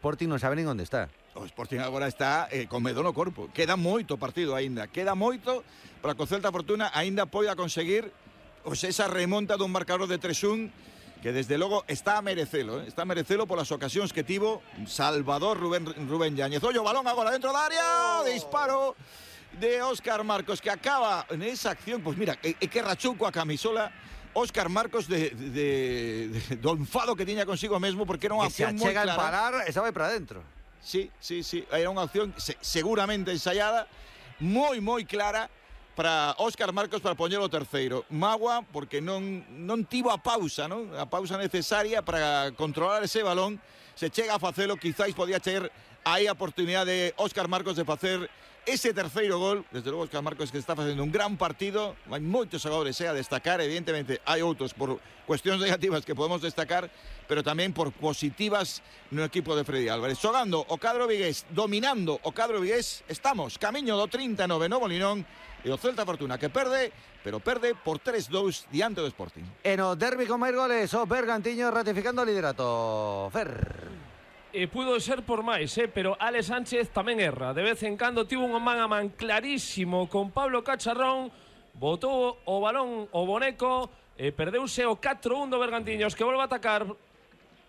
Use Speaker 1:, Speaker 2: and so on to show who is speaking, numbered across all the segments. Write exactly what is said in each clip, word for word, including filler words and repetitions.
Speaker 1: Sporting non sabe nin onde está.
Speaker 2: O Sporting agora está eh, con medo no corpo. Queda moito partido aínda. Queda moito para que o Celta Fortuna aínda poida conseguir pois, esa remonta dun marcador de tres un que desde logo está a merecelo, eh? está a merecelo polas ocasións que tivo Salvador Rubén, Rubén Yáñez. Ollo, balón agora dentro da área, oh. Disparo de Óscar Marcos que acaba en esa acción, pois mira, é, é que rachou coa camisola Óscar Marcos de, de, de, do enfado que tiña consigo mesmo porque era unha acción moi clara.
Speaker 1: Se achega a parar e xa vai para dentro.
Speaker 2: Sí, sí, sí, era unha acción se, seguramente ensaiada, moi, moi clara para Óscar Marcos para poñer o terceiro. Magua porque non, non tivo a pausa, non? A pausa necesaria para controlar ese balón. Se chega a facelo, quizáis podía ter aí a oportunidade de Óscar Marcos de facer ese terceiro gol. Desde logo Óscar Marcos que está facendo un gran partido. Hai moitos xogadores eh, a destacar, evidentemente hai outros por cuestións negativas que podemos destacar, pero tamén por positivas no equipo de Freddy Álvarez. Xogando o cadro vigués, dominando o cadro vigués, estamos camiño do trinta e nove no Molinón e o Celta Fortuna que perde, pero perde por tres dous diante do Sporting.
Speaker 1: E no derbi con máis goles, o Bergantiño ratificando o liderato. Fer.
Speaker 3: E pudo ser por máis, eh? pero Ale Sánchez tamén erra. De vez en cando tivo un man a man clarísimo con Pablo Cacharrón, botou o balón o boneco, e perdeuse o catro un do Bergantiños que volve a atacar,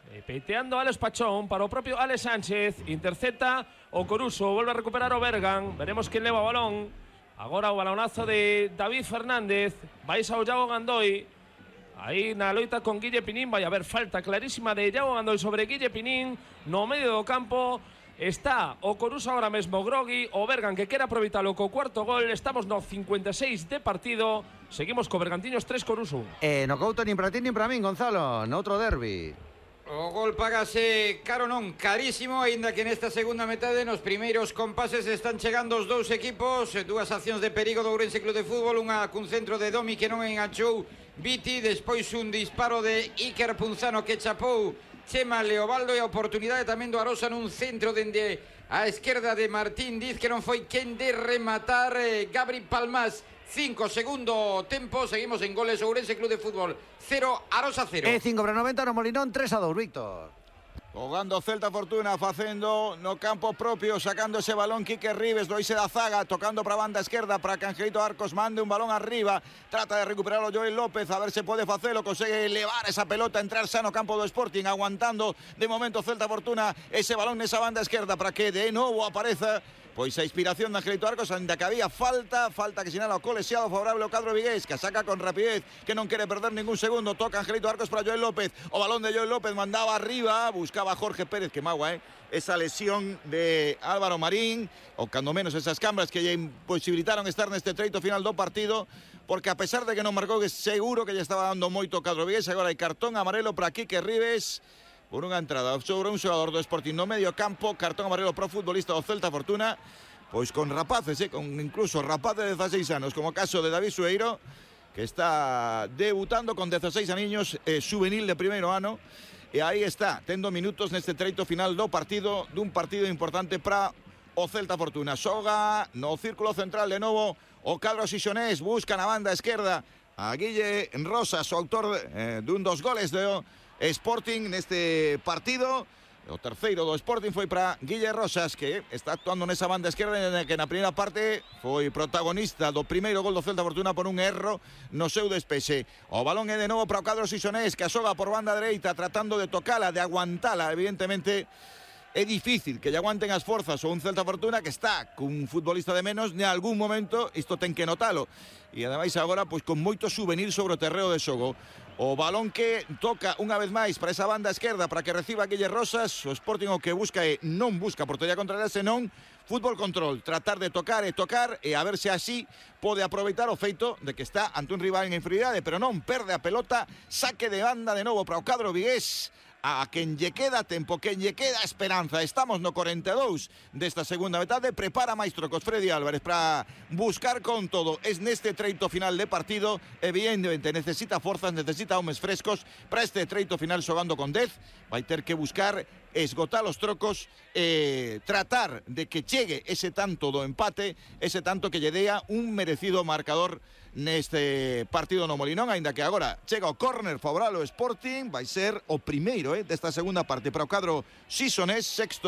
Speaker 3: e peiteando Alex Pachón para o propio Ale Sánchez, intercepta o Coruso, volve a recuperar o Bergan, veremos quen leva o balón. Agora o balonazo de David Fernández, vais ao Iago Gandoi. Aí na loita con Guille Pinín vai haber falta clarísima de Iago Gandoi sobre Guille Pinín. No medio do campo está o Coruso agora mesmo grogui, o Bergan que quere aproveitalo co cuarto gol. Estamos no cincuenta e seis de partido. Seguimos co Bergantiños tres Coruso.
Speaker 1: E no couto nin para ti nin para min, Gonzalo, no outro derbi.
Speaker 4: O gol pagase caro non, carísimo, aínda que nesta segunda metade nos primeiros compases están chegando os dous equipos, dúas accións de perigo do Ourense Club de Fútbol, unha cun centro de Domi que non enganchou Viti, despois un disparo de Iker Punzano que chapou Chema Leobaldo e a oportunidade tamén do Arosa nun centro dende a esquerda de Martín Diz que non foi quen de rematar eh, Gabri Palmás. Cinco segundo tempo, seguimos en goles Ourense Club de Fútbol cero, Arosa cero.
Speaker 1: E cinco para noventa no Molinón, tres a dous, Víctor.
Speaker 2: Jogando Celta Fortuna, facendo no campo propio, sacando ese balón Quique Rives, do Ise da zaga, tocando para a banda esquerda para que Angelito Arcos mande un balón arriba, trata de recuperarlo Joel López, a ver se pode facelo, consegue elevar esa pelota, entrar xa no campo do Sporting, aguantando de momento Celta Fortuna ese balón nesa banda esquerda para que de novo apareza pois a inspiración de Angelito Arcos, ainda que había falta, falta que sinala o colexiado favorable ao cadro vigués, que saca con rapidez, que non quere perder ningún segundo, toca Angelito Arcos para Joel López, o balón de Joel López mandaba arriba, buscaba a Jorge Pérez, que magua, eh, esa lesión de Álvaro Marín, ou cando menos esas cambras que lle imposibilitaron estar neste treito final do partido, porque a pesar de que non marcou, que seguro que lle estaba dando moito o cadro vigués, agora hai cartón amarelo para Quique Rives, por unha entrada sobre un xogador do Sporting no medio campo, cartón amarelo pro futbolista do Celta Fortuna, pois con rapaces, eh, con incluso rapaces de dezaseis anos, como o caso de David Sueiro, que está debutando con dezaseis aniños, eh, juvenil de primeiro ano, e aí está, tendo minutos neste treito final do partido, dun partido importante para o Celta Fortuna. Xoga no círculo central de novo o cadro xixonés, busca na banda esquerda a Guille Rosas, o autor eh, dun dos goles do Sporting neste partido. O terceiro do Sporting foi para Guille Rosas, que está actuando nesa banda esquerda, que na primeira parte foi protagonista do primeiro gol do Celta Fortuna por un erro no seu despexe. O balón é de novo para o cadro xixonés, que asoga por banda dereita tratando de tocala, de aguantala. Evidentemente é difícil que lle aguanten as forzas ou un Celta Fortuna que está cun futbolista de menos, en algún momento isto ten que notalo. E ademais agora pois con moito souvenir sobre o terreo de xogo. O balón que toca unha vez máis para esa banda esquerda para que reciba Guille Rosas. O Sporting o que busca é non busca portería contraria, senón fútbol control, tratar de tocar e tocar e a ver se así pode aproveitar o feito de que está ante un rival en inferioridade, pero non perde a pelota. Saque de banda de novo para o cadro vigués. A quen lle queda tempo, quen lle queda esperanza. Estamos no corenta e dous desta segunda metade. Prepara máis trocos Freddy Álvarez para buscar con todo. Es neste treito final de partido. Evidentemente necesita forzas, necesita homes frescos para este treito final xogando con dez. Vai ter que buscar esgotar os trocos e tratar de que chegue ese tanto do empate, ese tanto que lle dea un merecido marcador neste partido no Molinón, aínda que agora chega o córner favorable ao Sporting, vai ser o primeiro eh, desta segunda parte para o cadro xisonés, sexto